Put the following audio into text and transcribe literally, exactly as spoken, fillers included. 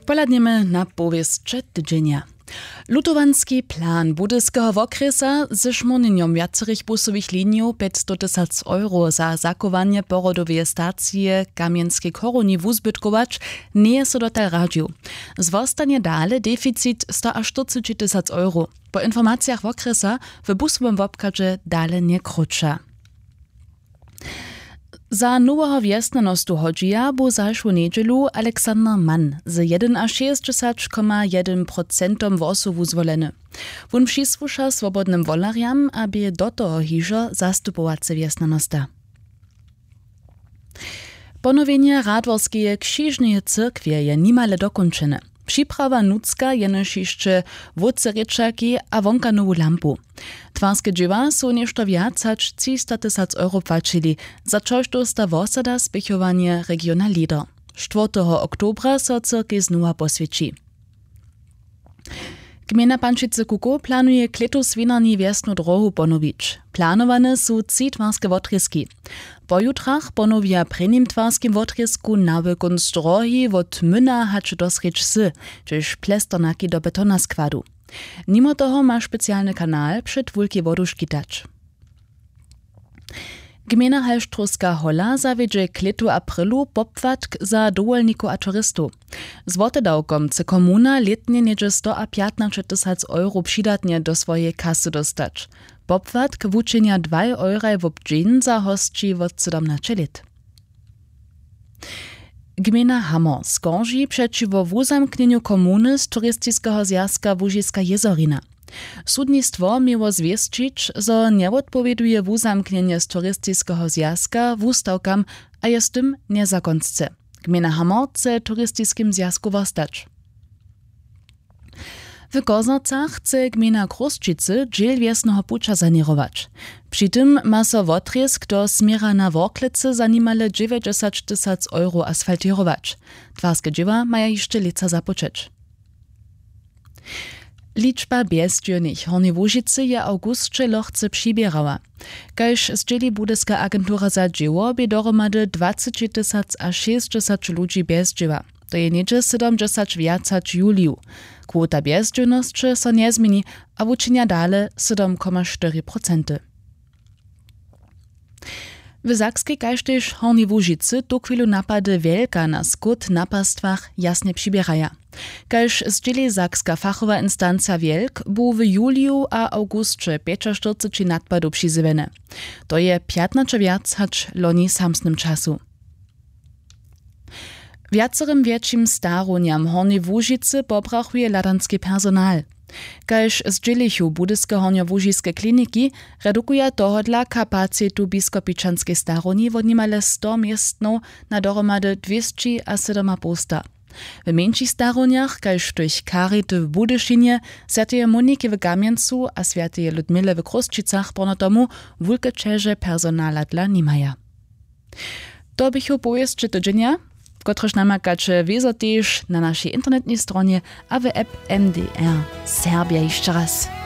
Pohladnjemy na powěsće tydźenja. Lutowanski plan budyskeho wokrjesa ze šmórnjenjom wjacerych busowych linijow pjećstotysac euro za zachowanje porodoweje stacije w kamjenskej chorowni wuzbytkować njeje so dotal radźił. Zwostanje dale deficit stoaštyrcećitysac euro. Po informacijach wokrjesa w busowym wobchadźe dale njekróća. Za noweho wjesnjanostu hodźija bu zašłu njedźelu alexander mann z jedynašěsćdźesać koma jedyn procentom hłosow wuzwoleny. Wón přisłuša swobodnym wolerjam a bě do toho hižo zastupowacy wjesnjanosta. Ponowjenje radworskeje křižneje cyrkwje je nimale dokónčene. Připrawa nutřka jenož hišće wótřerěčaki a wonka nowu lampu. Twarske dźěła su něšto wjac hač třistatysac euro płaćili, za čož dósta wosada spěchowanje regiona leader. Štwórteho oktobra so cyrkej znowa poswjeći. Gmejna pančicy kukow planuje klětu swinarni wjesnu drohu ponowić. Planowane su tři twarske wotrězki. Po jutrach ponowja w prěnim twarskim wotrězku nawykónc drohi wot myna hač do srjedź sy, hdźež plesternaki do betona składu. Nimo toho ma specialny kanal před wulkej wodu škitać. Gmejna halštrowska hola zawjedźe klětu w aprilu popłatk za dowolnikow a turistow. Z wotedawkom chce komuna lětnje něhdźe stoapjatnaćetysac euro přidatnje do swojeje kasy dóstać. Popłatk wučinja dwaj euraj wob dźeń za hosći wot sydomnaće lět. Gmejna hamor skorži přećiwo wuzamknjenju komuny z turistiskeho zwjazka łužiska jězorina. Sudnistwo měło zwěsćić zo njewotpowěduje wuzamknjenje z turistiskeho zwjazka wustawkam a je z tym njezakonsce. Gmejna hamor chce w turistiskim zwjazku wostać. W koznacach chce gmejna chrósćicy dźěl wjesneho puća saněrować. Při tym ma so wotrězk do směra na worklecy za nimale dźewjećdźesaćtysac euro asfaltěrować. Twarske dźěła maja hišće lětsa započeć. Ličba bjezdźěłnych w hornjej łužicy je w awgusće lochce přiběrała. Kaž zdźěli budyska agentura za dźěło bě dohromady dwacećitysac a šěsćdźesać ludźi bjezdźěła. To je něhdźe sydomdźesać wjac hač w juliju. Kwota bjezdźěłnosće so njezměni a wučinja dale sydom koma štyri procenty. W sakskej kaž tež hornjej łužicy tuchwilu napady wjelka na skót na pastwach jasnje přiběraja. Kaž zdźěli sakska fachowa instanca wjelk bu w juliju a awgusće pjećaštyrceći nadpadow přizjewjene. To je pjatnaće wjac hač loni w samsnym času. Wjacerym wjetšim starownjam w hornjej łužicy pobrachuje hladanski personal. Kaž zdźělichu budyske hornjołužiske kliniki, redukuja tohodla kapacitu w biskopičanskej starowni wot nimale sto městnow na dohromady dwěsći a sydomapołsta. W mjeńšich starownjach kaž w tych charity w budyšinje, swjateje moniki w kamjencu a swjateje ludmile w chrósćicach porno tomu wulke ćeže personala dla nimaja. To běchu powěsće tydźenja, kotrež namakaće wězo tež na našej internetnej stronje a w app mdr serbja hišće raz.